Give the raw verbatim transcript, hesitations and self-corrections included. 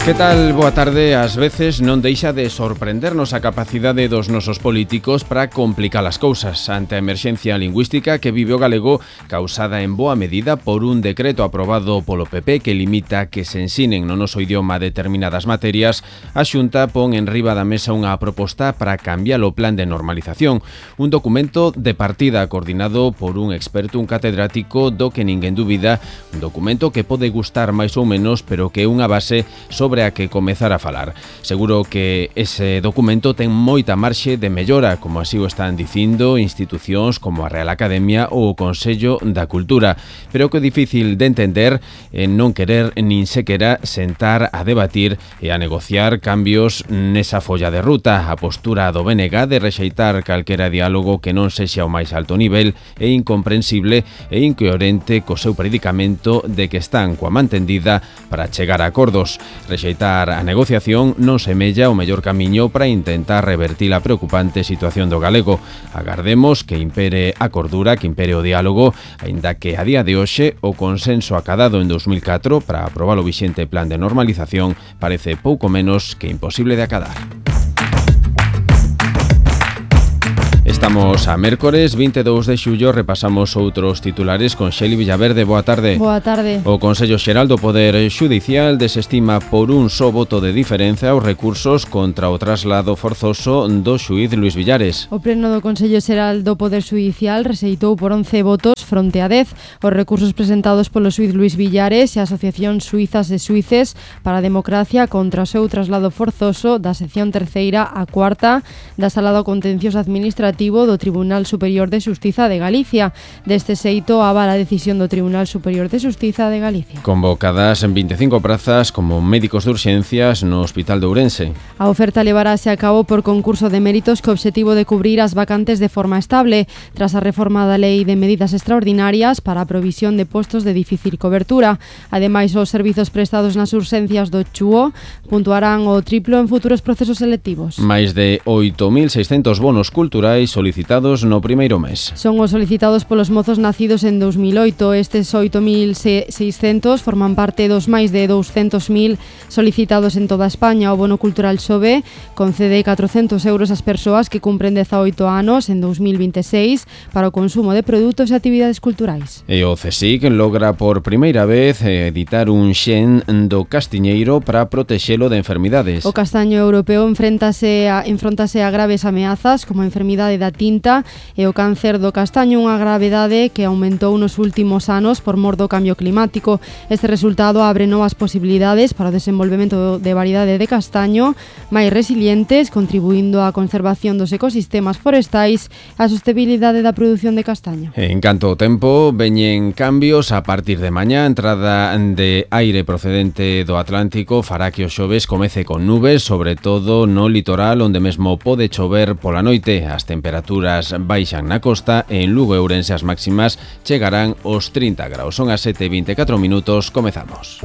Que tal? Boa tarde. Ás veces non deixa de sorprendernos a capacidade dos nosos políticos para complicar as cousas ante a emerxencia lingüística que vive o galego, causada en boa medida por un decreto aprobado polo P P que limita que se ensinen no noso idioma determinadas materias. A Xunta pon en riba da mesa unha proposta para cambiar o plan de normalización, un documento de partida coordinado por un experto, un catedrático do que ninguén dubida, un documento que pode gustar máis ou menos, pero que é unha base sobre a que comezar a falar. Seguro que ese documento ten moita marxe de mellora, como así o están dicindo institucións como a Real Academia ou o Consello da Cultura, pero que é difícil de entender é non querer nin sequera sentar a debatir e a negociar cambios nesa folla de ruta. A postura do B N G de rexeitar calquera diálogo que non sexa o máis alto nivel é incomprensible e incoherente co seu predicamento de que están coa man tendida para chegar a acordos. Rexeitar a negociación non semella o mellor camiño para intentar revertir a preocupante situación do galego. Agardemos que impere a cordura, que impere o diálogo, aínda que a día de hoxe o consenso acadado en dos mil catro para aprobar o vixente plan de normalización parece pouco menos que imposible de acadar. Estamos a mércores vinte e dous de xullo, repasamos outros titulares con Xeli Villaverde. Boa tarde. Boa tarde. O Consello Xeral do Poder Xudicial desestima por un só voto de diferenza os recursos contra o traslado forzoso do xuíz Luís Villares. O Pleno do Consello Xeral do Poder Xudicial rexeitou por once votos fronte a dez os recursos presentados polo xuíz Luís Villares e a Asociación Suizas de Suíces para a Democracia contra o seu traslado forzoso da sección terceira a cuarta da Sala do Contencioso Administrativo do Tribunal Superior de Xustiza de Galicia. Deste xeito, avala a decisión do Tribunal Superior de Xustiza de Galicia. Convocadas en vinte e cinco prazas como médicos de urxencias no Hospital de Ourense. A oferta levarase a cabo por concurso de méritos co obxectivo de cubrir as vacantes de forma estable, tras a reforma da Lei de Medidas Extraordinarias para a provisión de postos de difícil cobertura. Ademais, os servizos prestados nas urxencias do Chúo puntuarán o triplo en futuros procesos selectivos. Máis de oito mil seiscentos bonos culturais solicitados no primeiro mes. Son os solicitados polos mozos nacidos en dos mil oito. Estes oito mil seiscentos forman parte dos máis de douscentos mil solicitados en toda España. O bono cultural Xove concede catrocentos euros ás persoas que cumpren dezaoito anos en dos mil vinte e seis para o consumo de produtos e actividades culturais. E o CSIC logra por primeira vez editar un xen do castiñeiro para protexelo de enfermidades. O castaño europeo enfréntase a, enfrontase a graves ameazas como a enfermidade da tinta e o cáncer do castaño, unha gravedade que aumentou nos últimos anos por mor do cambio climático. Este resultado abre novas posibilidades para o desenvolvemento de variedade de castaño máis resilientes, contribuindo á conservación dos ecosistemas forestais e á sostenibilidade da produción de castaño. En canto ao tempo, veñen cambios a partir de mañá. Entrada de aire procedente do Atlántico fará que o xoves comece con nubes, sobre todo no litoral, onde mesmo pode chover pola noite. As temperaturas baixan na costa e en Lugo e Ourense as máximas chegarán aos trinta graus. Son as sete e vinte e catro minutos, comezamos.